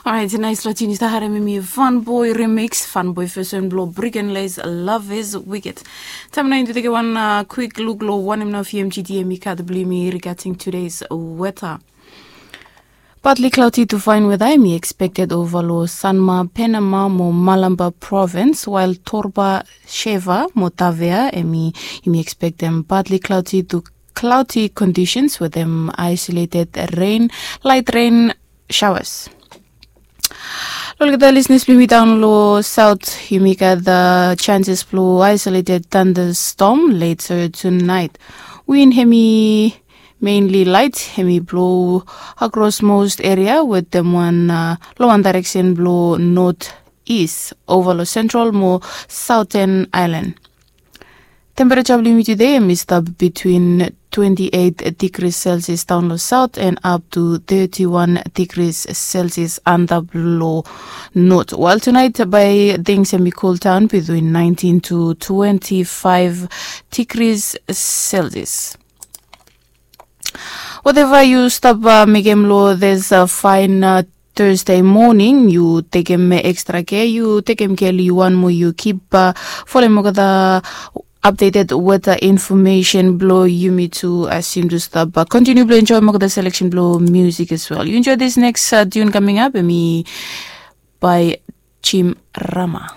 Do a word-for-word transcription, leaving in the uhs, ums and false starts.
Orait, nais long tinis da harem em i Fun Boy remix, Fun Boy version blong Brick and Lace, Love is Wicked. Taem nao yumi tu tekem wan kwik luk long wanem nao V M G D em i gat blong yumi regarding today's weather. Partly cloudy to fine weather em i expected over long Sanma, Penama mo Malampa province, while Torba, Sheva mo Tavea em i yumi expectem partly cloudy to cloudy conditions with them isolated rain, light rain showers. Lo olgeta listeners blong yumi daon lo south, yumi gat the chances blong isolated thunderstorm later tonight. Wind hemi mainly light, hemi blow across most area with them one uh, lo one direction blow north east over lo central mo southern island. Temperature blong yumi today em i stap between twenty-eight degrees Celsius down lo south and up to thirty-one degrees Celsius under lo north. While tonight by things em i cool down between nineteen to twenty-five degrees Celsius. Whatever yu stap uh, mekem lo this uh, fine uh, Thursday morning, yu tekem extra care, yu tekem care lo yu wan mo yu kip uh, folem olgeta updated weather information blong yumi tu as yumi tu stap uh, continue blong enjoy olgeta selection blong music as well. Yu enjoy this next uh, tune coming up, em i by Jim Rama.